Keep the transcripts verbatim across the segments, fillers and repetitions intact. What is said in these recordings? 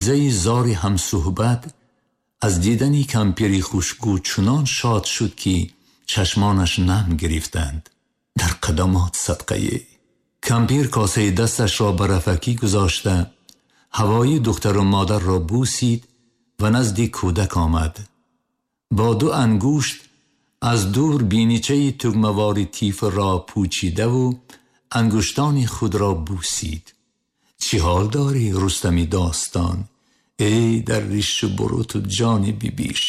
Оҷизаи зори ҳамсуҳбат аз дидани кампири хушгӯ чунон шод шуд, ки чашмонаш нам гирифтанд. Дар қадамот садқае. Кампир косаи дасташро ба рафакӣ гузошта, ҳавои духтару модарро бусид ва назди кӯдак омад. Бо ду ангушт аз дур биничаи тугмавори тифлро пӯчидаву ангуштони худро бусид. Чӣ ҳол дорӣ, Рустами достон? Эй дар ришу буруту ҷони бибиш!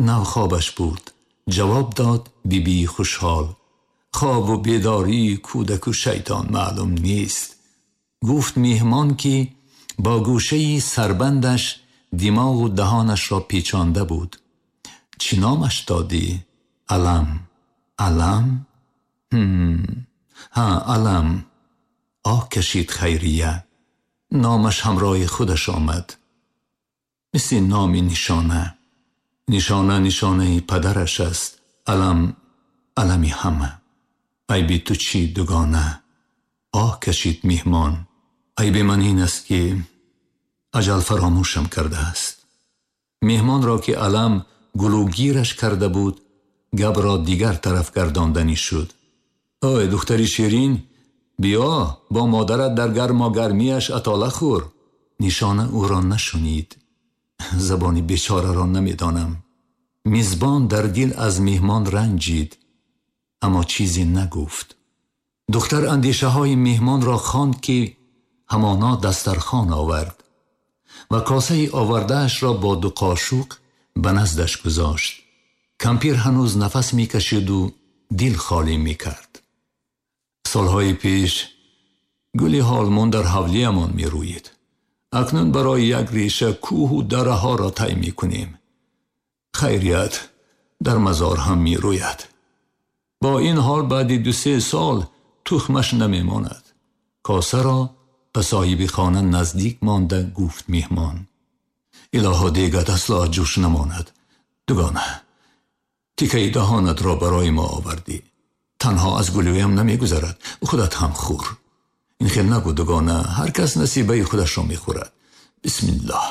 Нав хобаш бурд. Ҷавоб дод бибии хушҳол. Хобу бедории кӯдаку шайтон маълум нест. Гуфт меҳмон, ки бо гӯшаи сарбандаш димоғу даҳонашро печонда буд. Чӣ номаш додӣ? Алам. Алам? Ҳм. Ҳа, Алам. Оҳ кашид Хайрия. Номаш ҳамроҳи худаш омад. Мисли номи Нишона. Нишона нишонаи падараш аст. Алам алами ҳама. Айби ту чӣ, дугона? Оҳ кашид меҳмон. Айби ман ин аст, ки аҷал фаромӯшам кардааст. Меҳмонро, ки Алам гулӯгираш карда буд, гапро дигар тараф гардонданӣ шуд. Ой, духтари ширин, биё бо модарат дар гармогармиаш атола хӯр. Нишона ӯро нашунид. Забони бечораро намедонам. Мизбон дар дил аз меҳмон ранҷид, аммо чизе нагуфт. Духтар андешаҳои меҳмонро хонд, ки ҳамоно дастархон овард ва косаи овардаашро бо ду қошуқ ба наздаш гузошт. Кампир ҳанӯз нафас мекашиду дил холӣ мекард. Солҳои пеш гули ҳолмон дар ҳавлиямон мерӯид. Акнун барои як реша кӯҳу дараҳоро тай мекунем. Хайрият, дар мазор ҳам мерӯяд. Бо ин ҳол баъди ду-се сол тухмаш намемонад. Косаро ба соҳиби хона наздик монда гуфт меҳмон. Илоҳо, дегат асло ҷӯш намонад. Дугона, тикаи даҳонатро барои мо овардӣ. Танҳо аз гулӯям намегузарад, худат ҳам хӯр. Ин хел нагӯ, дугона, ҳар кас насибаи худашро мехӯрад. Бисмиллоҳ.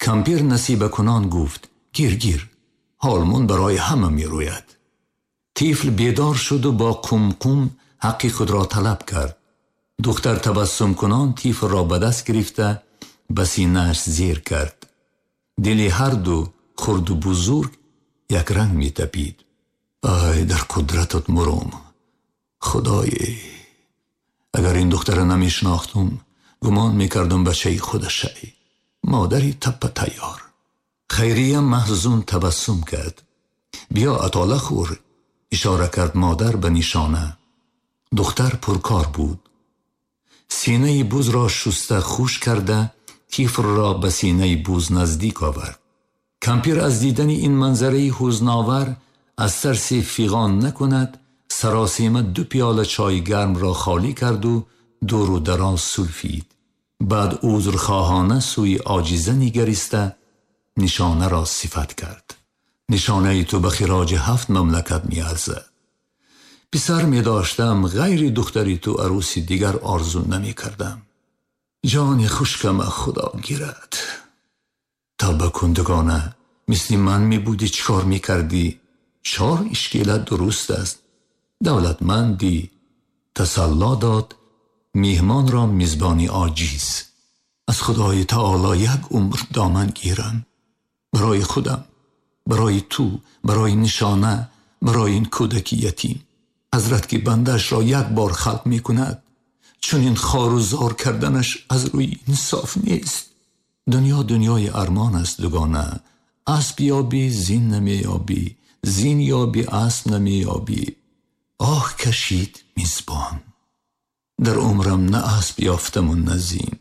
Кампир насибакунон гуфт: гир, гир, ҳолмон барои ҳама мерӯяд. Тифл бедор шуду бо қумқум ҳаққи худро талаб кард. Духтар табассумкунон тифлро ба даст гирифта ба синааш зер кард. Дили ҳар ду, хурду бузург, якранг метапид. Ай, дар қудратат мурум, Худое! Агар ин духтара намешинохтум, гумон мекардум бачаи худашай. Модари таппа тайёр. Хайрия маҳзун табассум кард. Биё атола хӯр, ишора кард модар ба Нишона. Духтар пуркор буд. Синаи бузро шуста хуш карда, тифлро ба синаи буз наздик овард. Кампир аз дидани ин манзараи ҳузновар аз тарси фиғон накунад, саросима ду пиёла чойи гармро холӣ карду дуру дароз сулфид. Баъд узрхоҳона сӯи оҷиза нигариста Нишонаро сифат кард. Нишонаи ту ба хироҷи ҳафт мамлакат меарзад. Писар медоштам, ғайри духтари ту арӯси дигар орзу намекардам. Ҷони хушкама Худо гирад. Тавба кун, дугона, мисли ман мебудӣ, чӣ кор мекардӣ? Чор ишкелат дуруст аст. Давлатмандӣ. Тасалло дод меҳмонро мизбони оҷиз. Аз Худои таоло як умр доман гирам. Барои худам, барои ту, барои Нишона, барои ин кӯдаки ятим. Ҳазрат, ки бандаашро як бор халқ мекунад, чунин хору зор карданаш аз рӯи инсоф нест. Дунё дунёи армон аст, дугона. Асп ёбӣ, зин намеёбӣ, зин ёбӣ, асп намеёбӣ. Оҳ кашид мизбон. Дар умрам на асп ёфтаму на зин.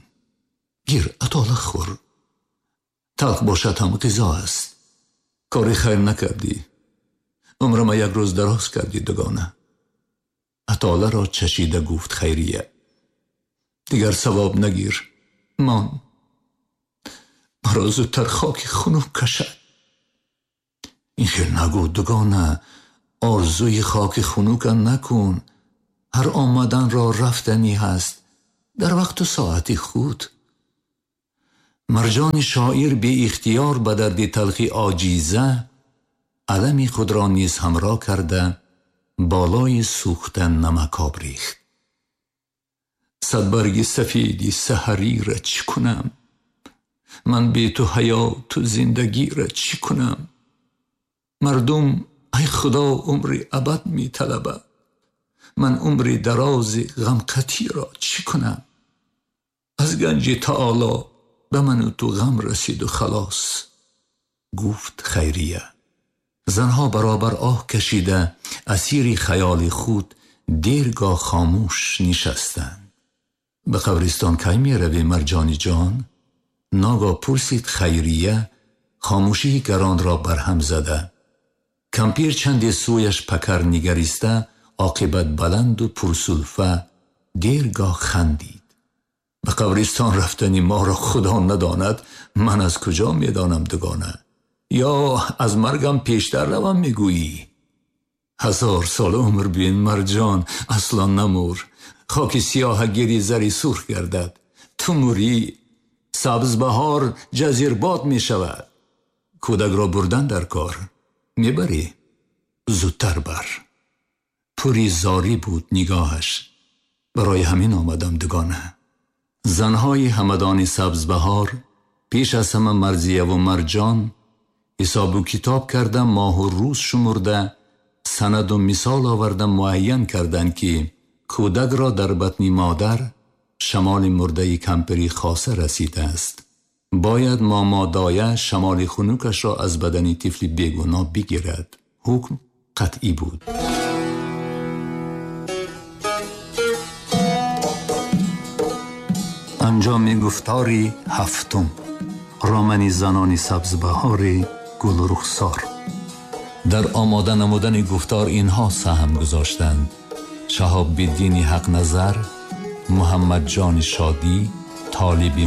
Гир, атола хӯр. Талх бошад ҳам ғизо аст. Кори хайр накардӣ. Умрама як рӯз дароз кардӣ, дугона. Атоларо чашида гуфт Хайрия. Дигар савоб нагир. Мон. Маро зудтар хоки хунук кашад. Ин хел нагӯ, дугона. Орзуи хоки хунука накун. Ҳар омаданро рафтанӣ ҳаст дар вақту соати худ. Марҷони шоир беихтиёр ба дарди талхи оҷиза алами худро низ ҳамроҳ карда болои сӯхта намакоб рехт. Садбарги сафеди саҳарира чӣ кунам? Ман бе ту ҳаёту зиндагира чӣ кунам? Мардум, ай Худо, умри абад металабад. Ман умри дарози ғамқатиро чӣ кунам? Аз ганҷи таоло ба ману ту ғам расиду халос, гуфт Хайрия. Занҳо баробар оҳ кашида асири хаёли худ дергоҳ хомӯш нишастанд. Ба қабристон кай меравӣ, Марҷони ҷон? Ногоҳ пурсид Хайрия, хомӯшии гаронро барҳам зада. Кампир чанде сӯяш пакар нигариста, оқибат баланду пурсулфа дергоҳ хандид. Ба қабристон рафтани моро Худо надонад, ман аз куҷо медонам дугона? Ё аз маргам пештар равам мегӯӣ? Ҳазор сол умр бин, Марҷон, асло намур. Хоки сиёҳа гири зари сурх гардад. Ту мурӣ, сабзбаҳор ҷазирбод мешавад. Кӯдакро бурдан дар кор. Мебарӣ? Зудтар бар. Пури зорӣ буд нигоҳаш. Барои ҳамин омадам дугона. Занҳои ҳамадони сабзбаҳор пеш аз ҳама Марзияву Марҷон ҳисобу китоб карда, моҳу рӯз шумурда, санаду мисол оварда муайян карданд, ки кӯдакро дар батни модар шамоли мурдаи кампири хоса расидааст. Бояд момодоя шамоли хунукашро аз бадани тифли бегуноҳ бигирад. Ҳукм қатъӣ буд. Анҷоми гуфтори ҳафтум. Романи занони сабзбаҳори гулрухсор. Дар омода намудани гуфтор инҳо саҳм гузоштанд: Шаҳобиддини Ҳақназар, Муҳаммадҷони Шодӣ, Толиби